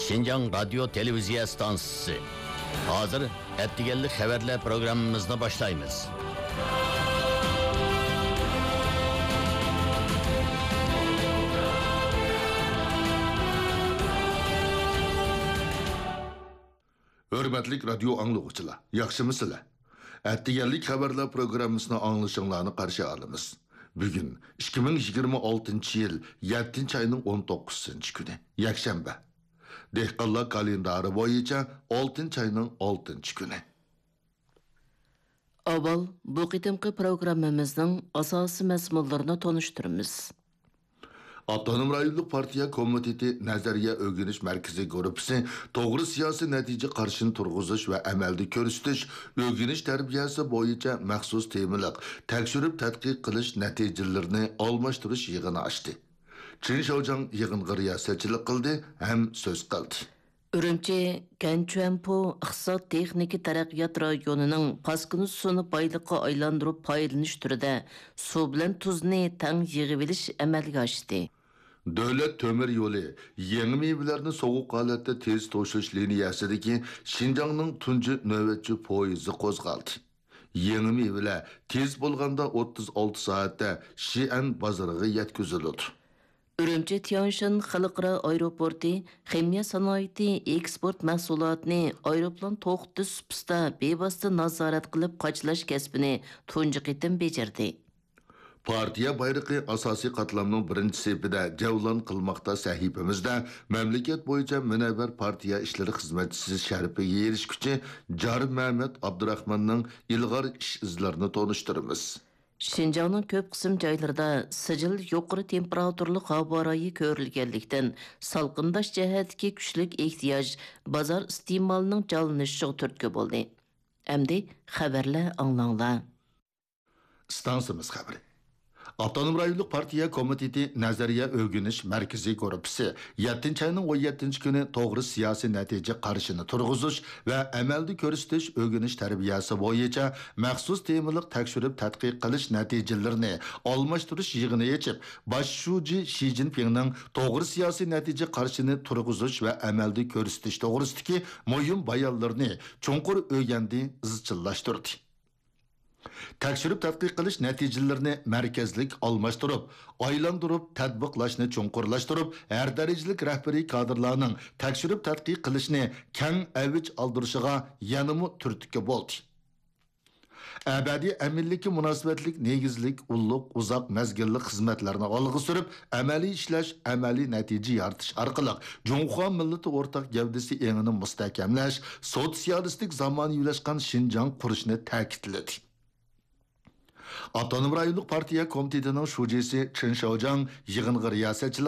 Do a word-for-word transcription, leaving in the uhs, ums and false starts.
شىنجاڭ رادىيو تېلېۋىزىيە ئىستانسىسى. ھازىر ئەتىگەنلىك خەۋەرلەر پروگراممىمىزنى باشلايمىز. ھۆرمەتلىك رادىيو ئاڭلىغۇچىلار، ياخشىمۇسىلەر؟ ئەتىگەنلىك خەۋەرلەر پروگراممىسىنى ئاڭلىشىڭلارنى قارشى ئالىمىز. بۈگۈن ئىككى مىڭ يىگىرمە ئالتىنچى يىل يەتتىنچى ئاينىڭ ئون توققۇزىنچى كۈنى، يەكشەنبە. دېھقانلار كالېندارى بويىچە ئالتىنچى ئاينىڭ ئالتىنچى كۈنى. ئاۋۋال بۇ قېتىمقى پروگراممىمىزنىڭ ئاساسىي مەزمۇنلىرىنى تونۇشتۇرىمىز. ئاپتونوم رايونلۇق پارتىيە كومىتېتى نەزەرىيە ئۆگىنىش مەركىزىي گۇرۇپپىسى توغرا سىياسىي نەتىجە قارىشىنى تۇرغۇزۇش ۋە ئەمەلدە كۆرسىتىش، ئۆگىنىش تەربىيەسى بويىچە مەخسۇس تېمىلىق تەكشۈرۈپ تەتقىق قىلىش نەتىجىلىرىنى ئالماشتۇرۇش يىغىنى ئاچتى. چېن شياۋجياڭ يىغىنغا رىياسەتچىلىك قىلدى ھەم سۆز قىلدى. ئۈرۈمچى گەنچۈەنپو ئىقتىساد تېخنىكا تەرەققىيات رايونىنىڭ پاسكىنا سۇنى بايلىققا ئايلاندۇرۇپ پايدىلىنىش تۈرىدە سۇ بىلەن تۇزنى تەڭ يىغىۋېلىش ئەمەلگە ئاشتى. دۆلەت تۆمۈر يولى يېڭى مېۋىلەرنى سوغۇق ھالەتتە تېز توشۇش لىنىيەسىدىكى شىنجاڭنىڭ تۇنجى نۆۋەتچى پويىزى قوزغالدى. يېڭى مېۋىلەر تېز بولغاندا ئوتتۇز ئالتە سائەتتە شىئەن بازىرىغا يەتكۈزۈلىدۇ. ئۈرۈمچى تيەنشان خەلقئارا ئايروپورتى خىمىيە سانائىتى ئېكسپورت مەھسۇلاتىنى ئايروپىلان توختىتىش سۇپىسىدا بىۋاسىتە نازارەت قىلىپ قاچىلاش كەسپىنى تۇنجى قېتىم بېجىردى. پارتىيە بايرىقى ئاساسىي قاتلامنىڭ بىرىنچى سېپىدە جەۋلان قىلماقتا سەھىپىمىزدە مەملىكەت بويىچە مۇنەۋۋەر پارتىيە ئىشلىرى خىزمەتچىسى شەرىپىگە ئېرىشكۈچى جار مەمەت ئابدۇراخماننىڭ ئىلغار ئىش ئىزلىرىنى تونۇشتۇرىمىز. شىنجاڭنىڭ كۆپ قىسىم جايلىرىدا سىجىل يۇقىرى تېمپېراتۇرىلىق ھاۋا رايى كۆرۈلگەنلىكتىن، سالقىنداش جەھەتتىكى كۈچلۈك ئېھتىياج بازار ئىستېمالىنىڭ جانلىنىشىغا تۈرتكە بولدى. ئەمدى خەۋەرلەر ئاڭلاڭلار. ئىستانسىمىز خەۋىرى. ئاپتونوم رايونلۇق پارتىيە كومىتېتى نەزەرىيە ئۆگىنىش مەركىزىي گۇرۇپپىسى يەتتىنچى ئاينىڭ ئون يەتتىنچى كۈنى توغرا سىياسىي نەتىجە قارىشىنى تۇرغۇزۇش ۋە ئەمەلدە كۆرسىتىش ئۆگىنىش تەربىيەسى بويىچە مەخسۇس تېمىلىق تەكشۈرۈپ تەتقىق قىلىش نەتىجىلىرىنى ئالماشتۇرۇش يىغىنى ئېچىپ، باش شۇجى شى جىنپىڭنىڭ توغرا سىياسىي نەتىجە قارىشىنى تۇرغۇزۇش ۋە ئەمەلدە كۆرسىتىش توغرىسىدىكى مۇھىم بايانلىرىنى چوڭقۇر ئۆگەندى، ئىزچىللاشتۇردى. تەكشۈرۈپ تەتقىق قىلىش نەتىجىلىرىنى مەركەزلىك ئالماشتۇرۇپ، ئايلاندۇرۇپ، تەتبىقلاشنى چوڭقۇرلاشتۇرۇپ، ھەر دەرىجىلىك رەھبىرىي كادىرلارنىڭ تەكشۈرۈپ تەتقىق قىلىشنى كەڭ ئەۋج ئالدۇرۇشىغا يەنىمۇ تۈرتكە بولدى. ئەبەدىي ئەمىنلىككە مۇناسىۋەتلىك نېگىزلىك ئۇللۇق ئۇزاق مەزگىللىك خىزمەتلەرنى ئالغا سۈرۈپ، ئەمەلىي ئىشلەش، ئەمەلىي نەتىجە يارىتىش ئارقىلىق جۇڭخۇا مىللىتى ئورتاق گەۋدىسى ئېڭىنى مۇستەھكەملەش، سوتسىيالىستىك زامانىۋىلاشقان شىنجاڭ قۇرۇشنى تەكىتلىدى. ئاپتونوم رايونلۇق پارتىيە كومىتېتىنىڭ شۇجىسى چېن شياۋجياڭ يىغىنغا رىياسەتچىلىك